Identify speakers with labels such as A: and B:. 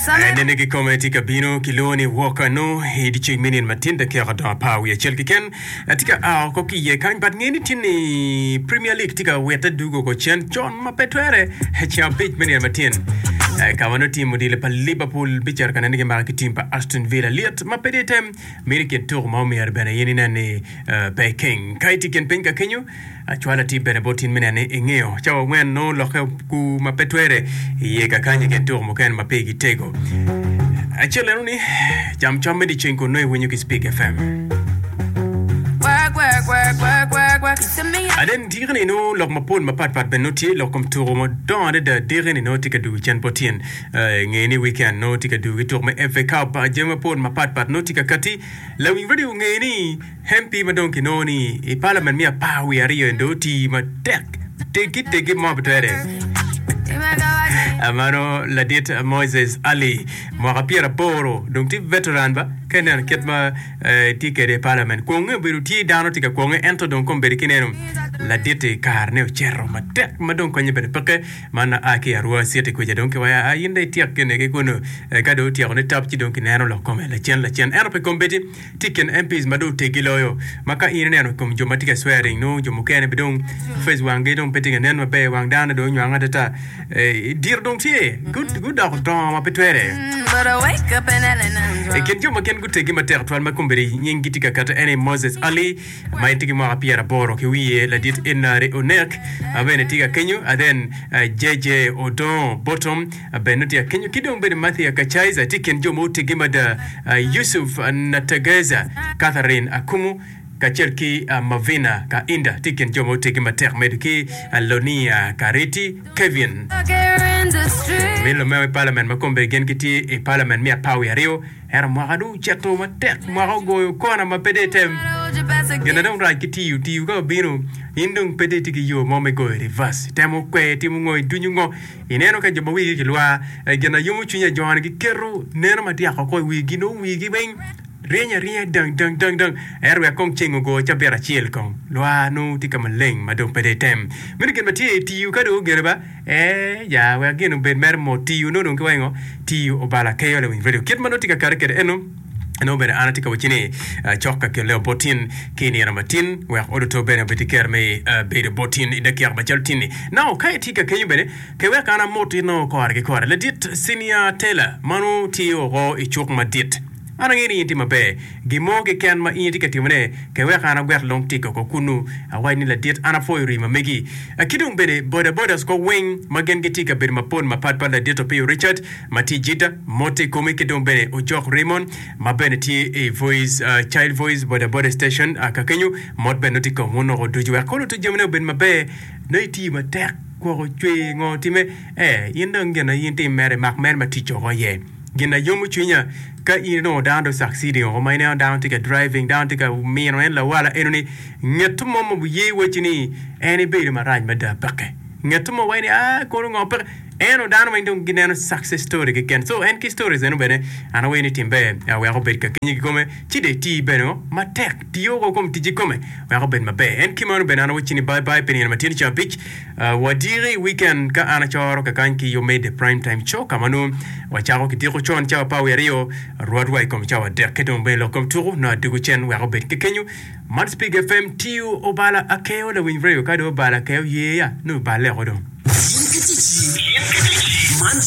A: Nene kikome tye ka bino kilwongo ni Walker nongo i dyeceng me nino matin dakika odong apar wiye acel keken tye ka a oko ki iye kany but nge ni tye ni Premier League tye ka wite dugo oko cen con ma pe twere ceng abic me nino matin ka ma nongo tim odilo pa Liverpool bicito ka nene gimako ki tim pa Aston Villa lyet ma pe tye tem mito i kin tuko ma omyero bene in inen ni pe iking ka itye i kin piny ka kenyo Acwalo atir bene bot in me neno ni ingeyo cawa angwen nongo lokke ku ma pe twere iye kakany i kin tuko mukene ma pigi tego. Acel eno ni cam cam me dyeceng kun nongo iwinyo ki Speak FM.
B: Work, work, work, work, work, work. You see me
A: Aden diki-ni nongo lok mapol mapat pat bene nongo tye lok kom tuko madongo adada diki-ni nongo tye ka dugo cen bot tyen. Eh, nge ni weekend nongo tye ka dugo ki tuko me FA Cup jami mapol mapat pat nongo tye ka kati. Lawiny radio nge ni MP ma dong kinongo ni i palament me apar wiye aryo eni dong oti matek teggi teggi mo pe twere. Mano ladit Moises Ali mwaka pyeraboro dong tye veteran ba ka ineno kit ma tye kwede i palament. Kwonge obedo tye dano tye ka kwonge ento dong kombeddi ki ineno ladit-ti karene ocito matek ma dong konye bene peke man a ki i Arua City kuca dong kiwaco a in dong ityek gine ki kunu ka dong otyeko ni tap ci dong kineno lok kome lacen lacen ento pi kombeddi Tye i kin MPs ma dong oteggi loyo ma ka in ineno i kom jo ma tye ka swearing nongo jo mukene be dong face wanggi dong pe tye ka nen maber wang dano dong onywang adada diro dong tye gudoko dongo ma pe twere. I kin jo ma gin guteggi matek twal ma kombeddi nyinggi tye ka kati en aye Moses Ali ma en tye ki mwaka pyeraboro ki wiye, ladit Enari Onek ma bene tye ka kenyo, then JJ Odongo Bottom Bene tye akenyo ki dong bedo Mathia Kachaiza tye i kin jo ma oteggi mada, Yusuf Nategeza, Catherine Akumu kacel ki Mavina Kainda tye i kin jo ma oteggi matek medo ki Lonia Kariti Kevin. Min lumeo i palament ma kombeddi gin gitye i palament me apar wiye aryo ento mwaka dong oceto matek mwaka ogoyo kona ma pe dong item gin na dong rac ki tiyo tiyo ka obino in dong pe dong itye ki yo mo me goyo reverse itemo kwer itimo ngo idunyo ngo Ineno ka jo ma wigi kilwar, gin na yomo cwiny ajona giketo neno madyak oko i wigi, nongo wigi weng ryeny aryenya dang dang dang dang. Ento wek kong ceng ogo cabit acel kong, lwar nongo tye ka maleng ma dong pe dong item. Meno gin ma tye i tiyo ka dong ogene ba? Ee ya, wek gin obed mere mot, tiyo nongo dong ki wango, tiyo obalo akeyo lawiny radio. Kit ma nongo tye ka kati kwede eno, Nongo bene an atye ka wacci ni cok ka kelle bot in ki i nino matin wek odoto bene obed ki kero me bedo bot in i dakika macalo tin-ni. Now ka itye ka kenyo bene ke wek an amot in nongo kore ki kore. Ladit Senior Taylor mano tye oko i cuk madit. An angeyo ni in itye maber. Gin mo keken ma in itye ka timone ke wek an agwek long tik oko kunnu awac ni ladit an apwoyo rii ma megi. Ki dong bene boda bodas ko weng ma gin gitye i kabedo mapol mapat pat ladit Opiyo Richard ma tye i Jidda, Mote i kome ki dong bene Ojok Raymond ma bene tye i Voice, Child Voice Boda Boda Station ka kenyo. Mot bene nongo tye i kom wun woko ducu wek kolo to jamine obed maber. Nongo itiyo matek gwoko cwer ngo time ee in dong gin in tim mere mak mere ma tic oko iye. Gin na yomo cwinya ka in inongo dano dong succeeding oko ma ineno dano tye ka driving dano tye ka mino en lawala eno ni nget mo ma ye wacci ni en ibedo marac mada peke. Nget mo waci ni aa kono ngo peke. Ento dano weng dong gineno success story keken so en ki stories eno bene an aweyo ni tim ber wek obed ka kenyi kikome ci dong iti bene o matek tiyo o kom ticci kome wek obed maber en ki meno bene an awacci ni bye bye pi nino matyen ca abic wadiki weekend ka an acoro kakany ki yo me the prime time show ka ma nongo wacako ki diko con cawa apar wiye aryo rwot wa i kom cawa adek ki dong bene lok kom tuku nongo adugu cen wek obed ki kenyu Man Spig FM tiyo obala akeyo lawiny radio ka dong obala akeyo yeya nongo obale oko dong.
C: In ki ticci. Man.